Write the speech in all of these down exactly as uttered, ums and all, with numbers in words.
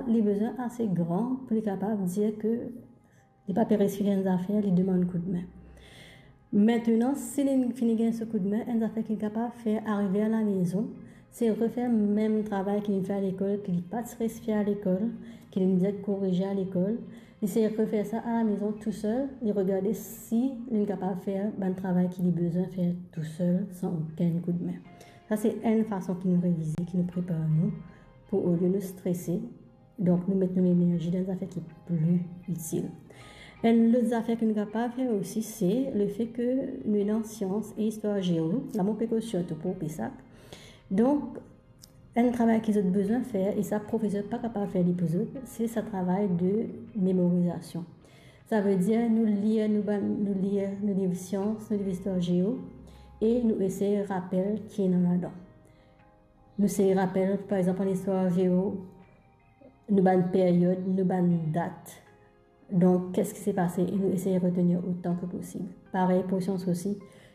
li bizin ase gran pou li kapav dir ke li pa pe reisi fer enn zafer, li demann koudme. Aster, si li finn gagn so koudme, enn zafer ki li kapav fer arive alamezon, se refer mem travay ki li fer alekol, ki li pa ti reisi fer alekol, ki li dir korize alekol. Li se refer sa alamezon tousel, li regarde si li kapav fer bann travay ki li bizin fer tousel, san okenn koudme. Sa se enn fason ki nou revize, ki nou prepar nou pou, olie nou strese, donk nou met nou lenerzi dan zafer ki pli itil. Enn lot zafer ki nou kapav fer osi, se lefe ke nou ena syans e istwar geo, la mo pe koz sirtou pou PSAC. Donk, enn travay ki zot bizin fer, e sa profeser pa kapav fer li pou zot, se sa travay de memorizasion. Savedir nou lir, nou bann, nou lir, nou liv syans, nou liv istwar geo, e nou esey rapel ki ena ladan. Nou esey rapel, par exanp, an istwar geo, nou bann peryod, nou bann dat. Donk, kisa ki ti pase, e nou esey retenir otan ki posib. Parey pou syans osi,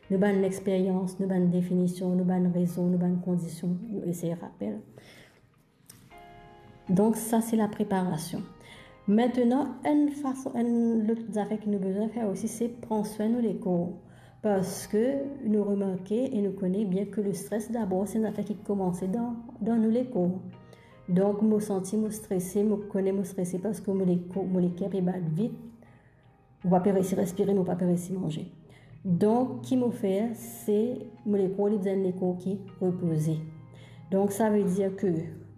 nou bann lexperyans, nou bann definision, nou bann rezon, nou bann kondision, nou esey rapel. Donk, sa se lapreparasion. Aster, enn fason, enn lot zafer ki nou bizin fer osi, se pran swin nou lekor. Parski nou remarke e nou kone bien ke lestres dabor, se enn zafer ki koumans dan, dan nou lekor. Donk, mo santi mo strese, mo kone mo strese parski mo lekor, mo leker pe bat vit, mo pa pe reisi respire, mo pa pe reisi manze. Donk, ki mo fer, se mo lekor, li bizin enn lekor ki repoze. Donk, savedir ke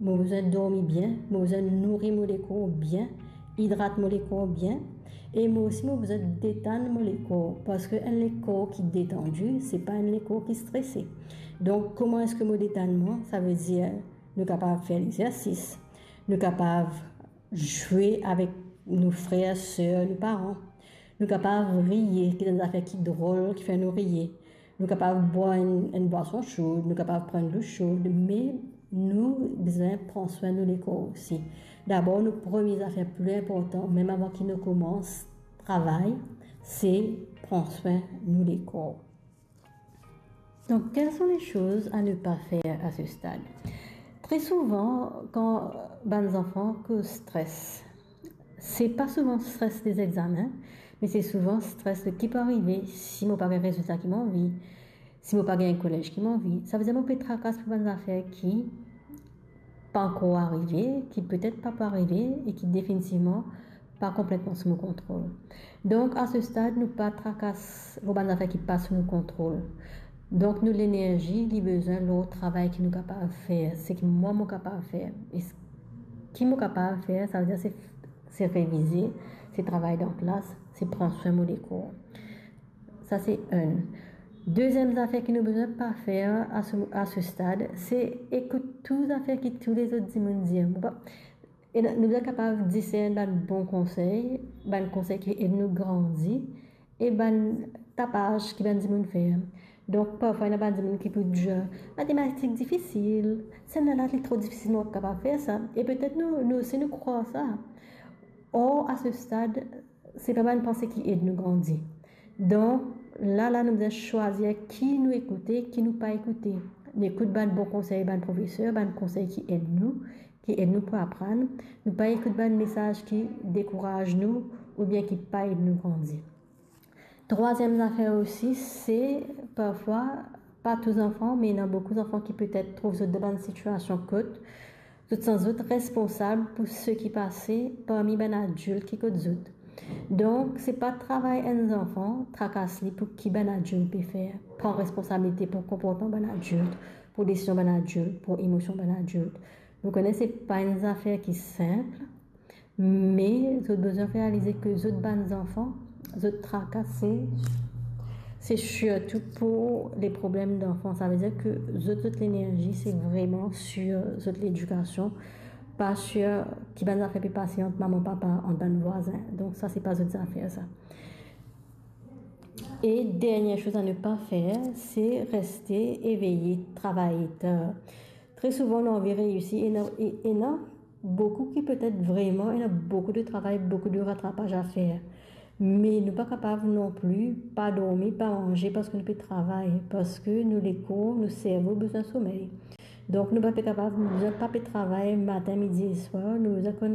mo bizin dormi bien, mo bizin nouri mo lekor bien, idrat mo lekor bien, e mo osi mo bizin detann mo lekor, parski enn lekor ki detandi, se pa enn lekor ki strese. Donk, kouma eski mo detann mwa? Savedir, nou kapav fer lexersis, nou kapav zwe avek nou frer, ser, nou paran. Nou kapav riye, ki enn zafer ki drol, ki fer nou riye. Nou kapav bwar enn, enn bwason so, nou kapav pran dlo so, me nou bizin pran swin nou lekor osi. Dabor, nou premie zafer pli inportan, mem avan ki nou koumans travay, se pran swin nou lekor. Donc, quelles sont les choses à ne pas faire à ce stade? Très souvent, quand bann zanfan koz stres, se pa souvan stres de examen, me se souvan stres de ki pou arive si mo pa gagn rezilta ki mo anvi, si mo pa gagn kolez ki mo anvi. Savedir mo pe trakas pou bann zafer ki pa ankor arive, ki petet pa pou arive e ki definitivman pa konpletman sou mo kontrol. Donk, a se stad, nou pa trakas lor bann zafer ki pa sou nou kontrol. Donk, nou lenerzi, li bizin lor travay ki nou kapav fer, seki mwa mo kapav fer. E s-, ki mo kapav fer, savedir se, se revize, se travay dan klas, se pran swin mo lekor. Sa se enn. Deziem zafer ki nou bizin pa fer a se, a se stad, se ekout tou zafer ki tou lezot dimoun dir. Mo pa, e nou bizin kapav disern bann bon konsey, bann konsey ki ed nou grandi, e bann tapaz ki bann dimoun fer. Donk, parfwa, ena bann dimoun ki pou dir, "Matematik difisil, sannla li tro difisil, mo pa kapav fer sa." E petet nou, nou osi, nou krwar sa. Or, a se stad, se pa bann panse ki ed nou grandi. Donk, la, la, nou bizin swazir ki nou ekoute, ki nou pa ekoute. Nou ekout bann bon konsey bann profeser, bann konsey ki ed nou, ki ed nou pou aprann. Nou pa ekout bann mesaz ki dekouraz nou oubien ki pa ed nou grandi. Trwaziem zafer osi, se parfwa, pa tou zanfan, me ena boukou zanfan ki petet trouv zot dan bann sitiasion kot zot santi zot responsab pou seki pase parmi bann adilt ki kot zot. Donk, se pa travay enn zanfan trakas li pou ki bann adilt pe fer. Pran responsabilite pou konportman bann adilt, pou desizion bann adilt, pou emosion bann adilt. Nou kone se pa enn zafer ki sinp, me zot bizin realize ke zot bann zanfan, zot traka se, se sirtou pou le problem danfan. Savedir ke zot, zot lenerzi, se vreman sir zot ledikasion, pa sir ki bann zafer pe pase ant mama, papa, ant bann vwazin. Donk, sa, se pa zot zafer, sa. E dernie soz a ne pa fer, se reste eveye, travay tar. Tre souvan, nou anvi reisi, ena, e, ena boukou ki petet vreman, ena boukou de travay, boukou de ratrapaz a fer. Me nou pa kapav non pli pa dormi, pa manze, parski nou pe travay, parski nou lekor, nou servo bizin somey. Donk, nou pa pe kapav, nou bizin pa pe travay matin, midi e swar, nou bizin konn